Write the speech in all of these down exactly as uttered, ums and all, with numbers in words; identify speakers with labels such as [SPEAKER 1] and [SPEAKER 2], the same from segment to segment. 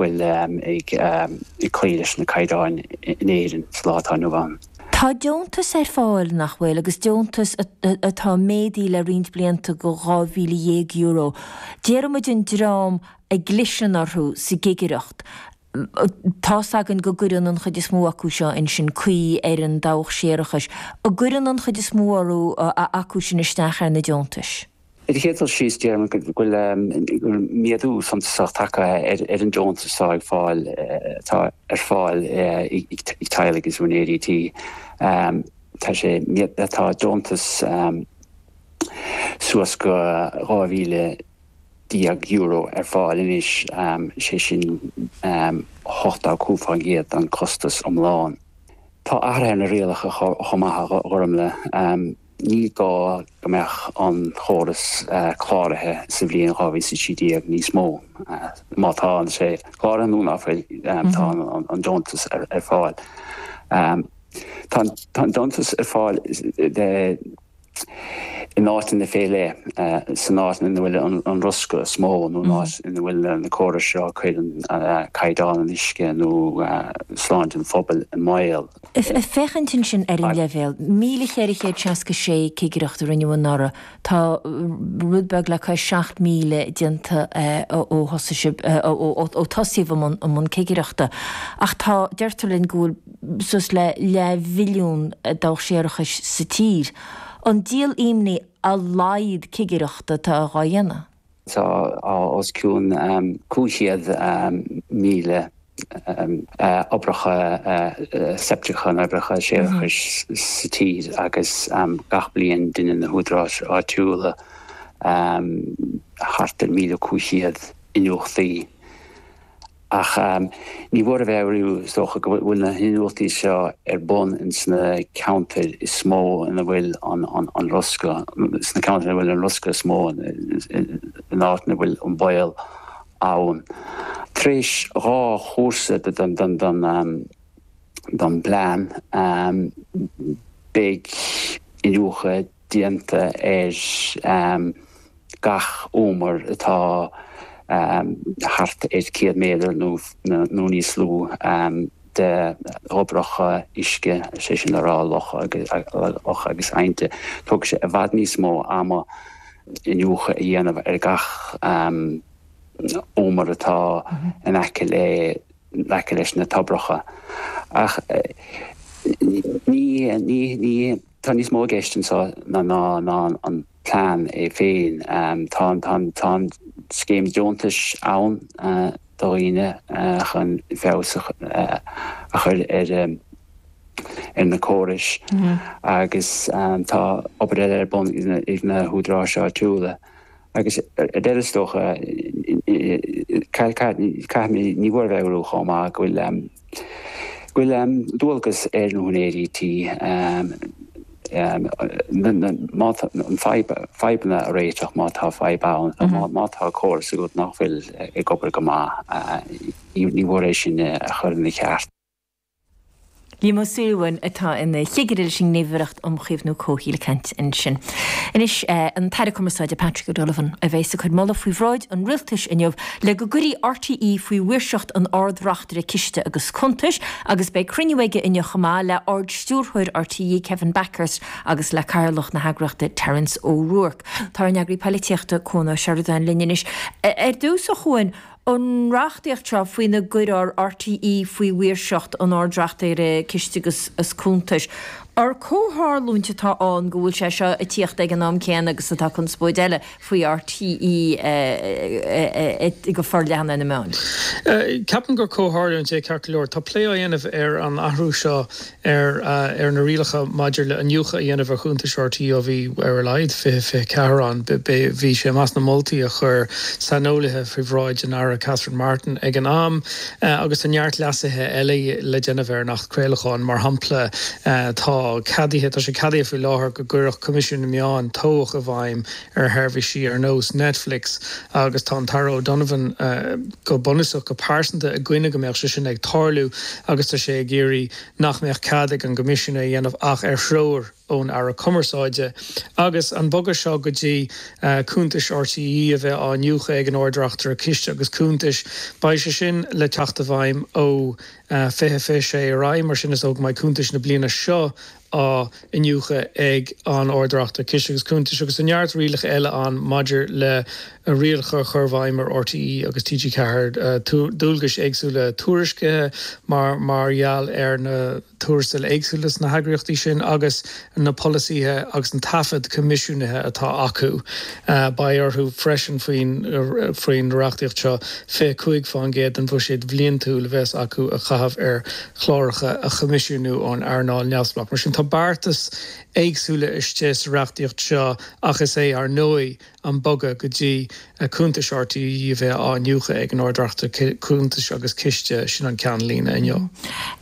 [SPEAKER 1] bhfuil ag ag cloí leis na caighdeáin in Éirinn sa lá atá inniu ann.
[SPEAKER 2] Tá deontas ar fáil, nach bhfuil, agus deontas atá méadaithe le roinnt blianta go dhá mhíle dhéag euro. Déarfaidh muid an dream a gcliseann orthu sa gcigireacht. Tá's againn go gcuireann an chuid is mó acu seo ansin caoi ar an dabhach séarachais. An gcuireann an chuid is mó orthu acu sin isteach ar na deontais?
[SPEAKER 1] Ar an chéad dul síos, déarfainn go bhfuil méadú suntasach tagtha ar an deontas atá ag fáil atá ar fáil ag teaghlaigh agus úinéirí tí. Tá sé tá deontas suas go dhá mhíle déag euro ar fáil anois, sé sin ochtó cúig faoin gcéad den chostas iomlán. Tá athruithe ar na rialacha chomh maith, a Ghormfhlaith. Ní gá go mbeadh an chóras cláraithe sa bhliain dhá mhíle is a trí déag níos mó. Má tá sé cláraithe nó ná fuil, tá an deontas ar fáil. Tá an deontas ar fáil in áiteanna fé leith, san áit ina bhfuil an riosca is mó nó in áit ina bhfuil na córais seo a chuireann caighdeán an uisce nó sláinte an phobail i mbaol.
[SPEAKER 2] Ag féachaint ansin ar an leibhéal, míle cheithre chéad seasca sé cigireacht a rinneadh anuraidh, tá rud beag le cois seacht míle déanta ó thosaigh sibh, ó tosaíodh i mbun cigireachta. Ach tá, deirtear linn go bhfuil suas le leathmhilliún dabhach séarachais sa tír. An díol imní a laghad cigireachta atá á dhéanamh?
[SPEAKER 1] Tá os cionn cúig chéad míle oibreacha seipteacha nó oibreacha séarachais sa tír agus gach bliain déanann na húdaráis áitiúla thart ar míle cúig chéad iniúchtaí. Ach ní mór a mheabhrú, is dócha, go bhfuil na hiniúchtaí seo ar bun ins na ceantair is mó ina bhfuil an riosca, sna ceantair ina bhfuil an riosca is mó, in áit ina bhfuil an baol ann. Tar éis dhá chúrsa den bplean, beidh iniúchadh déanta ar gach umar atá thart ar céad méadar nó níos lú de thoibreacha uisce, sé sin le rá locha agus aibhnte. Tógfaidh sé i bhfad níos mó ama iniúchadh a dhéanamh ar gach umar atá in aice le in aice leis na toibreacha. Ach ní ní ní tá níos mó i gceist anseo ná ná an plean é féin. Tá tá an scéim deontais ann do dhaoine chun feabhas a chur ar ar na córais agus tá obair eile ar bun ag na húdaráis áitiúla. Agus ar deireadh is dócha, caithfidh, ní mór a mheabhrú chomh maith go bhfuil go bhfuil dualgas ar na húinéirí tí má tá an fadhb, fadhbanna a réiteach má tá fadhb ann, má tá córas agat nach bhfuil ag obair go maith, ní mór é sin a chur ina cheart.
[SPEAKER 2] Liam Ó Súilleabháin atá ina chigire leis an nGníomhaireacht um Chaomhnú Comhshaoil ag caint ansin. Anois, an tAire Cumarsáide Patrick O'Donovan a bheas ag cur moladh faoi bhráid an Rialtais inniu le go gcuirfí R T E faoi mhaoirseacht an Ard-Reachtaire Ciste agus Cuntais agus beidh cruinniú aige inniu chomh maith le Ard-Stiúrthóir R T E Kevin Bakhurst agus le Cathaoirleach na heagraíochta Terence O'Rourke. Tá ár n-eagraí polaitíochta Cuan Ó Seireadáin linn anois. Ar dtús, a Chuain, an reachtaíocht seo faoina gcuirfear R T E faoi mhaoirseacht an Ard-Reachtaire Ciste agus Cuntais. Ar comhtharlúint atá ann go bhfuil sé seo ag tíocht ag an am céanna agus atá conspóid eile faoi R T E go forleathan ar na meáin?
[SPEAKER 3] Ceapaim gur comhtharlúint é ceart go leor. Tá plé á dhéanamh ar an athrú seo ar ar na rialacha maidir le iniúchadh a dhéanamh ar chuntais R T E ó bhí ar a laghad fiche fiche ceathair ann. Bhí sé i measc na moltaí a chuir saineolaithe faoi bhráid an Aire Catherine Martin ag an am agus tá neart leasuithe eile le déanamh ar an Acht Craolacháin, mar shampla tá atá ceadaithe, tá sé ceadaithe faoi láthair go gcuirfeadh Coimisiún na Meán tobhach i bhfeidhm ar sheirbhísí ar nós Netflix agus tá an tAire O'Donovan go bunúsach, go pearsanta i gcoinne go mbeadh sé sin ag tarlú agus tá sé ag iarraidh nach mbeadh cead ag an gCoimisiún é a dhéanamh ach ar threoir ón Aire Cumarsáide. Agus an bogadh seo go dtí cuntais RTÉ a bheith á iniúchadh ag an Ard-Reachtaire Ciste agus Cuntais, beidh sé sin le teacht i bhfeidhm ó fiche fiche sé ar aghaidh, mar sin is dóigh go mbeidh cuntais na bliana seo á iniúchadh ag an Ard-Reachtaire Ciste agus Cuntais agus tá neart rialacha eile ann maidir le rialacha a chur i bhfeidhm ar RTÉ agus T G ceathair, dualgais éagsúla tuairiscithe mar mar gheall ar na tuarastail éagsúla sna heagraíochtaí sin agus na polasaithe agus an taifead coimisiúnaithe atá acu. Beidh orthu freisin faoin faoin reachtaíocht seo fiche cúig fán gcéad den bhuiséad bhliantúil a bheas acu a chaitheamh ar chláracha a choimisiúnú ón earnáil neamhspleách. Mar sin tá beartais éagsúla istigh sa reachtaíocht seo ach is é, ar ndóigh, an bogadh go dtí cuntais RTÉ a bheith á iniúchadh ag an Ard-Reachtaire Cuntais agus Ciste, sin an ceannlíne inniu.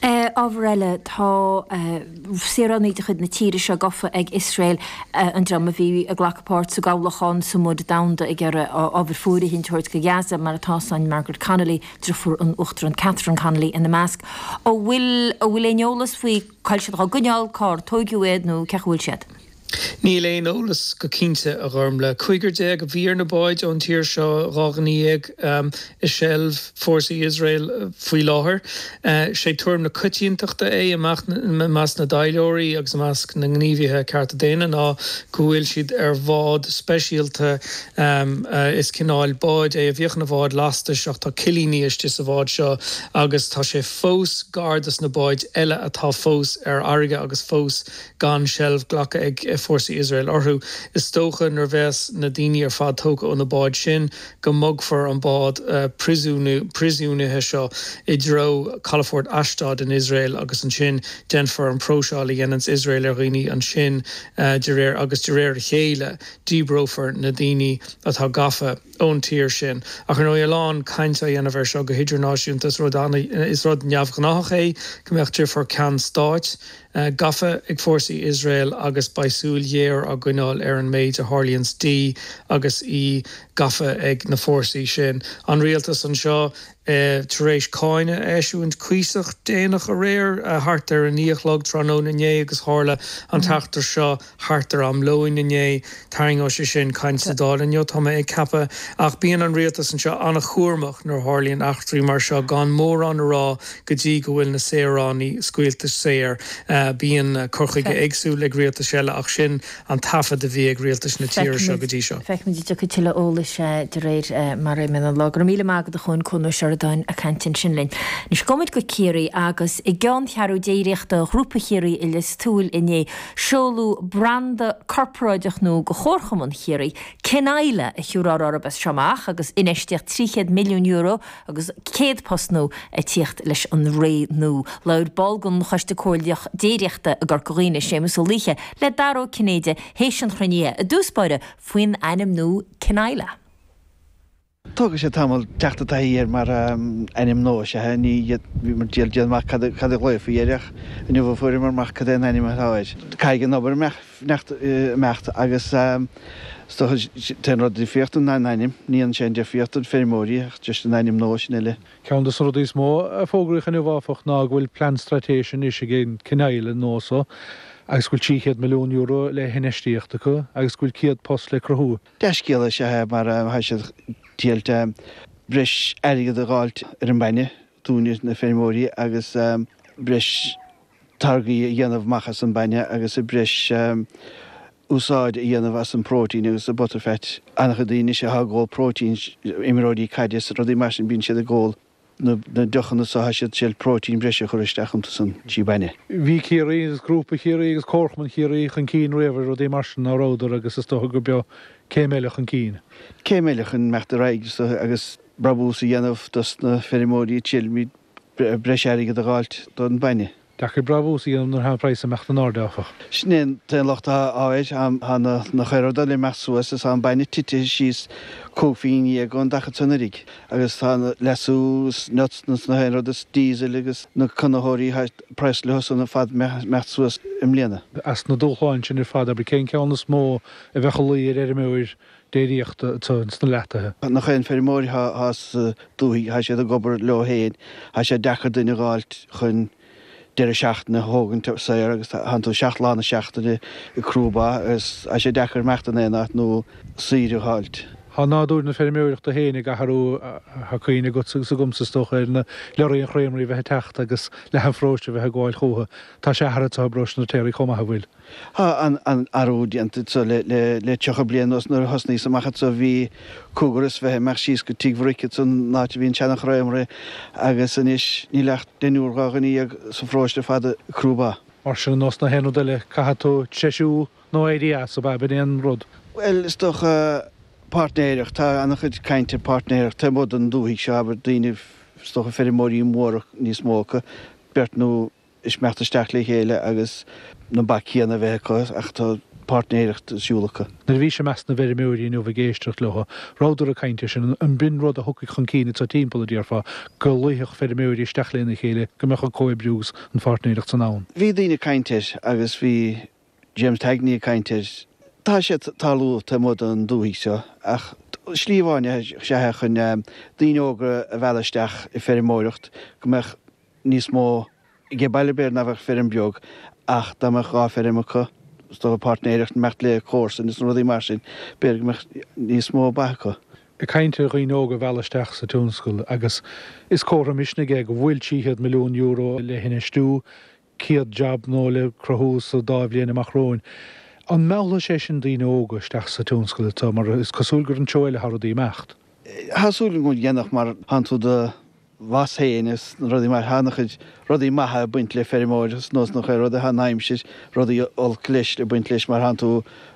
[SPEAKER 2] Ábhar eile, tá saoránaigh de chuid na tíre seo gafa ag Iosrael, an dream a bhí ag glacadh páirt sa gcabhlach Sumud Domhanda ag iarraidh ábhar fóirithint a thabhairt go Gaza, mar atá san Margaret Connolly, driofúr an Uachtaráin Catherine Connolly ina measc. An bhfuil aon eolas faoi cá bhfuil siad á gcoinneáil, cár tóigeadh iad nó cén chaoi a bhfuil siad?
[SPEAKER 3] Níl aon eolas go cinnte, a Ghormlaith. Cúigear déag a bhí ar na báid ón tír seo, dhá dhuine dhéag i seilbh fórsaí Iosrael faoi láthair. Sé tuairim na coitiantachta é i measc na dtaidhleoirí agus i measc na ngníomhaithe cearta daonna ná go bhfuil siad ar bhád speisialta. Is cineál báid é a bhíodh ina bhád lastais ach tá cillíní istigh sa bhád seo agus tá sé fós gar dos na báid eile atá fós ar fharraige agus fós gan seilbh glactha ag fórsaí Iosrael orthu. Is dócha nuair bheas na daoine ar fad tógtha ó na báid sin go mbogfar an bád príosúnaithe seo i dtreo calafort Ashdod in Iosrael agus ansin déanfar an próiseáil a dhéananns Iosrael ar dhaoine ansin de réir agus de réir a chéile díbreofar na daoine atá gafa ón tír sin. Ach ar ndóigh a lán cainte á dhéanamh air seo go hidirnáisiúnta. Is rud is rud neamhghnáthach é go mbeadh deirfiúr ceann stáit gafa ag fórsaí Iosrael agus beidh súil ghéar á gcoinneáil ar an méid a tharlaíonns di agus í gafa ag na fórsaí sin. An rialtas anseo tar éis cáineadh a eisiúint cuíosach déanach aréir, thart ar a naoi a chlog tráthnóna inné agus tharla an t-eachtra seo thart ar am lóin inné. Tarraingeoidh sé sin caint sa Dáil inniu, tá mé ag ceapadh. Ach bíonn an rialtas anseo an-chúramach nuair a tharlaíonn eachtraí mar seo, gan mórán a rá go dtí go bhfuil na saoránaigh scaoilte saor. Bíonn cur chuige éagsúil ag rialtais eile ach sin an taifead a bhí ag rialtais na tíre seo go dtí seo.
[SPEAKER 2] Feicfimid an dtiocfaidh tuilleadh eolais de réir mar a imíonn an lá. Go raibh míle maith agat a Chuain, Cuan Ó Seireadáin ag caint ansin linn. Anois gabhfaimid go Ciarraí agus i gceanncheathrú déiríochta Ghrúpa Chiarraí i Lios Tuathail inné, seoladh branda corparáideach nua do Chomharchumann Chiarraí, Cineila a thiúrfar orthu as seo amach agus infheistíocht trí chéad milliún euro agus céad post nua ag tíocht leis an ré nua. Labhair ball den Choiste Comhairleach Déiríochta i gCorca Dhuibhne, Séamus Ó Laoithe, le Dara Ó Cinnéide théis an chruinnithe i dtús báire faoin ainm nua Cineila.
[SPEAKER 4] Tógfaidh sé tamall teacht i dtaithí air mar ainm nua, is ea. Ní bhíomar ag déanamh amach cad a ghlaofaí air ach inniu a fuaireamar amach cad é an ainm atá air. Caithfidh an obair imeacht agus is dócha an t-aon rud difríocht ná an ainm. Ní dhéanann sé aon difríocht don feirmeoirí ach just an ainm nua sin uile.
[SPEAKER 5] Ceann de na rudaí is mó a fógraíodh inniu, áfach, ná go bhfuil plean straitéise anois ag an Cineila nua so agus go bhfuil trí chéad milliún euro le hinfheistíocht acu agus go bhfuil céad post le cruthú.
[SPEAKER 4] Dea-scéala is ea é mar tá siad triailt breis airgead a dh'fháilt ar an mbainne dúinne na feirmeoirí agus breis táirgí a dhéanamh amach as an bainne agus breis úsáid a dhéanamh as an próitéin agus an butterfat. An-chuid daoine anois atá ag ól próitéin, imreoirí caide is rudaí mar sin, bíonn siad ag ól na deochanna so tá siad triail próitéin breise a chur isteach iontu san trí bainne.
[SPEAKER 5] Bhí Ciarraí agus Grúpa Chiarraí agus Comharchumann Chiarraí chun cinn riamh ar rudaí mar sin, ná rabhadar, agus is dócha gurb eo céim eile chun cinn.
[SPEAKER 4] Céim eile chun imeacht ar aghaidh agus brabús a dhéanamh dos na feirmeoirí, triailfimid breis airgead a dh'fháilt don bainne.
[SPEAKER 5] Deacair brabús a dhéanamh nuair atá an praghas ag imeacht in airde, áfach.
[SPEAKER 4] Sin é an t-aon locht atá air, tá na chuile rud le imeacht suas is tá an bainne tite síos cúig phingin dhéag ón daichead is anuraidh agus tá an leasú is nuts is na haon rud is diesel agus na conaitheoirí tá praghas leo san ar fad imeacht suas i mbliana.
[SPEAKER 5] As na dúshláin sin ar fad, abair, cén ceann is mó a bheadh ag luí ar fheirmeoir déiríochta anseo sna Leathtaithe?
[SPEAKER 4] Nach aon feirmeoir atá sa dúthaigh, tá siad ag obair leo féin, tá sé deacair duine a dh'fháilt chun deireadh seachtaine a thógaint saor agus tánn tú seacht lá na seachtaine ag crú ba agus tá sé deacair imeacht in aon áit nó saoire a dh'fháilt.
[SPEAKER 5] Tá nádúr na feirmeoireachta féin ag athrú, tá cuimhne agatsa agus agamsa is dócha ar na leoraí an chreamery a bheith ag teacht agus leath an pharóiste a bheith ag gabháil chúthu. Tá sé athraithe i bparóiste na Téaraí chomh maith, an bhfuil?
[SPEAKER 4] Tá an-athrú déanta anseo le tríocha bliain anuas. Nuair a thosnaíos amach anseo bhí cúigear is fiche imeacht síos go Tigh Mharic ansan, an áit a bhí an seana-chreamery, agus anois níl ach deichniúr dhá dhuine dhéag sa pharóiste ar fad ag crú ba.
[SPEAKER 5] Mar sin, ar nós na haon rud eile, caithfidh tú treisiú nó éirí as, ab ea? B'in é an rud.
[SPEAKER 4] Bhuel, is dócha páirtnéireacht. Tá an-chuid cainte ar páirtnéireacht taobh amuigh den dúthaigh seo, abair, daoine, is dócha feirmeoirí móra níos mó acu, beirt nó is imeacht isteach le chéile agus na ba céanna a bheith acu ach tá páirtnéireacht ar siúl acu.
[SPEAKER 5] Nuair a bhís i measc na bhfeirmeoirí inniu ag éisteacht leo, rabhadar ag caint air sin, an b'in rud a thiocfaidh chun cinn anseo timpeall, a déarfá, go luífeadh feirmeoirí isteach lena chéile, go mbeadh an comhoibriú agus an pháirtnéireacht san ann?
[SPEAKER 4] Bhí daoine ag caint air agus bhí James Tagney ag caint air. Tá sé ag tarlú taobh amuigh den dúthaigh seo ach slí amháin is ea é chun daoine óga a mhealladh isteach i feirmeoireacht, go mbeadh níos mó Ag baile b'fhéidir nach mbeadh feirm beag ach dá mbeadh dhá feirm acu, is dócha páirtnéireacht, imeacht le comharsain is na rudaí mar sin, b'fhéidir go mbeadh níos mó ba acu.
[SPEAKER 5] Ag caint ar dhaoine óga a mhealladh isteach sa tionscal agus is comhartha misnigh é go bhfuil trí chéad milliún euro le hinfheistiú, céad jab nua le cruthú sa dá bhliain amach romhainn. An meallfaidh sé sin daoine óga isteach sa tionscal atá, mar is cosúil gur an treo eile atá rudaí ag imeacht?
[SPEAKER 4] Tá súil agam go ndéanfadh mar tánn tú do bhoss féin is na rudaí mar tá an-chuid rudaí maithe ag baint le feirmeoireacht is nós nach rud tá an aimsir, rudaí olc leis ag baint leis mar tánn tú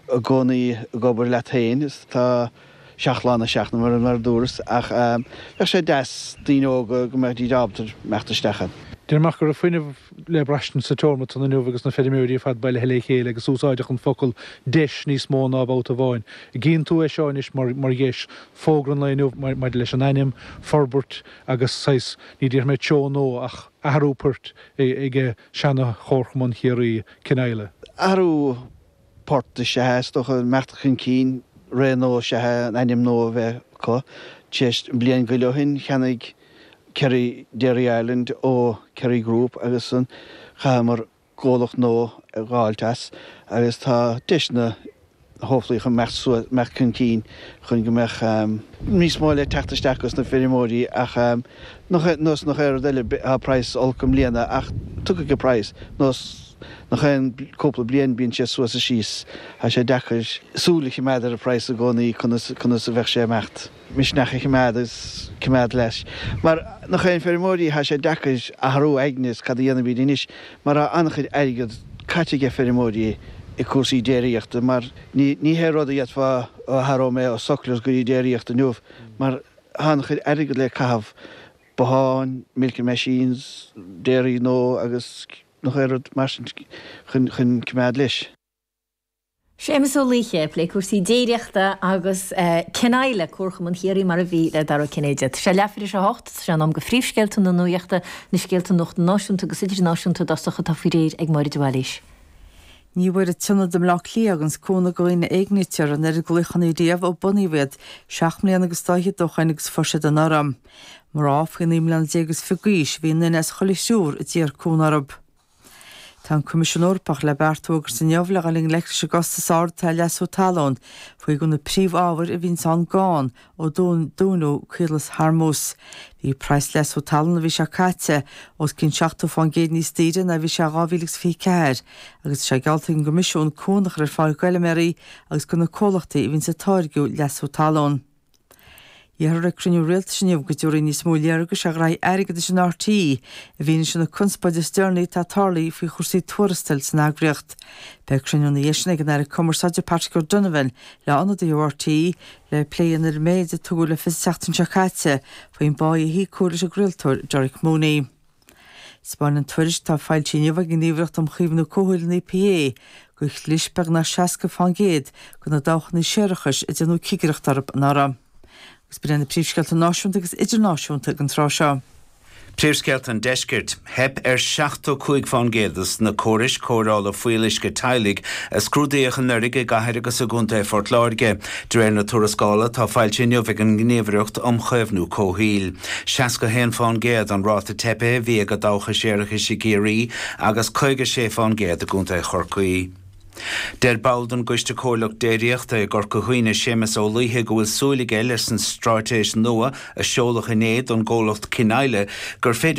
[SPEAKER 4] i gcónaí ag obair leat féin is tá seacht lá na seachtaine mar mar a dúras ach bheadh sé deas daoine óga go mbeidís ábalta imeacht isteach ann.
[SPEAKER 5] Déarfainn amach go raibh fuinneamh le braistint sa tseomra san inniu agus na feirmeoirí ar fad bailithe le chéile agus úsáideadh an focal 'deis' níos mó ná babhta amháin. Gíonn tú é seo anois mar mar dheis, fógra an lae inniu maidir leis an ainm, forbairt agus saghas, ní déarfaidh mé treo nua ach athrú poirt ag seana-Chomharchumann Chiarraí, Cineadhla.
[SPEAKER 4] Athrú poirt is ea é, is dócha, imeacht chun cinn, ré nua is ea é an ainm nua a bheith acu. Tar éis bliain go leith ó shin, cheannaigh Kerry Dairy Ireland ó Kerry Group agus an chaitheamar comhlacht nua a dh'fháilt as agus tá deiseanna hopefully chun imeacht suas, imeacht chun cinn chun go mbeadh níos mó le teacht isteach dos na feirmeoirí ach nach nós nach aon rud eile tá praghas olc i mbliana ach tiocfaidh an praghas nós nach aon cúpla bliain bíonn sé suas is síos tá sé deacair súil a choimeád ar an praghas i gcónaí conas conas a bheadh sé ag imeacht. misneach a choimeád agus coimeád leis. Mar nach aon feirmeoirí, tá sé deacair athrú aigne is cad a dhéanfaimid anois mar tá an-chuid airgead caite ag feirmeoirí i cúrsaí déiríochta mar ní ní hé rud a d'fhéadfá ó athróidh mé ó sucklers go dtí déiríocht inniu mar tá an-chuid airgead le caitheamh, botháin, milking machines, dairy nua agus nach aon rud mar sin chun chun coimeád leis.
[SPEAKER 2] Séamus Ó Laoithe ag plé cúrsaí déiríochta agus Cineadhla, Comharchumann Chiarraí mar a bhí le Dara Ó Cinnéide. Tá sé leathuair tar éis a hocht, tá sé in am do phríomhscéalta na nuachta, na scéalta nuachta náisiúnta agus idirnáisiúnta i dtosach atá faoi réir ag Máire de Bhailís.
[SPEAKER 6] Ní bhfuair an tIonad i mBleá Cliath a thuganns cúnamh do dhaoine a éignítear an oiread glaochanna riamh ó bunaíodh iad seacht mbliana agus dá fhichead ó shoin agus fuair siad anuraidh. Mná faoi naoi mbliana déag is fiche d'aois a bhí i nduine as chuile thriúr a d'iarr cúnamh orthu. Tá an Coimisiún Eorpach le beart a fhógairt inniu le dhul i ngleic leis an gcostas ard atá ar leasú talún, faoi gur na príomhábhair a bhíonns ann gann ó dúnadh Caolas Hormuz. Bhí praghas leasú talún an mhí seo caite os cionn seachtó fán gcéad níos daoire ná a bhí sé in dhá mhíle agus fiche ceathair agus tá sé geallta ag an gCoimisiún cúnamh a chur ar fáil d'fheilméaraí agus do na comhlachtaí a bhíonns ag táirgiú leasú talún. Iarrthar ag cruinniú rialtais inniu go dtabharfaí níos mó léargais ar ghraithí airgeadais in RTÉ i bhfianaise na conspóide is deireanaí atá tarlaithe faoi chúrsaí tuarastail san eagraíocht. Beidh cruinniú ina dhiaidh sin ag an Aire Cumarsáide Patrick O'Donovan le ionadaithe ó RTÉ le plé a dhéanamh ar an méid a tugadh le fios an tseachtain seo caite faoin bpá a híocadh leis an gcraoltóir Derek Mooney. Spáineann tuairisc atá foilsithe inniu ag an nGníomhaireacht um Chaomhnú Comhshaoil an EPA gur chlis beagnach seasca fán gcéad de na dabhchanna séarachais a déanadh cigireacht orthu anuraidh. Agus b'in na príomhscéalta náisiúnta agus idirnáisiúnta ag an tráth seo.
[SPEAKER 7] Príomhscéalta an deiscirt, theip ar seachtó cúig fán gcéad de na córais cóireála fuíolluisce teaghlaigh a scrúdaíodh anuraidh i gcathair agus i gContae Phort Láirge. De réir na tuarascála atá foilsithe inniu ag an nGníomhaireacht um Chaomhnú Comhshaoil. Seasca haon fán gcéad an ráta teipe a bhí ag dabhcha séarachais i gCiarraí agus caoga sé fán gcéad i gContae Chorcaí. Deir ball den gCoiste Comhairleach Déiríochta i gCorca Dhuibhne Séamus Ó Laoithe go bhfuil súil aige leis an straitéis nua a seoladh inné don gcomhlacht Cineile gur féidir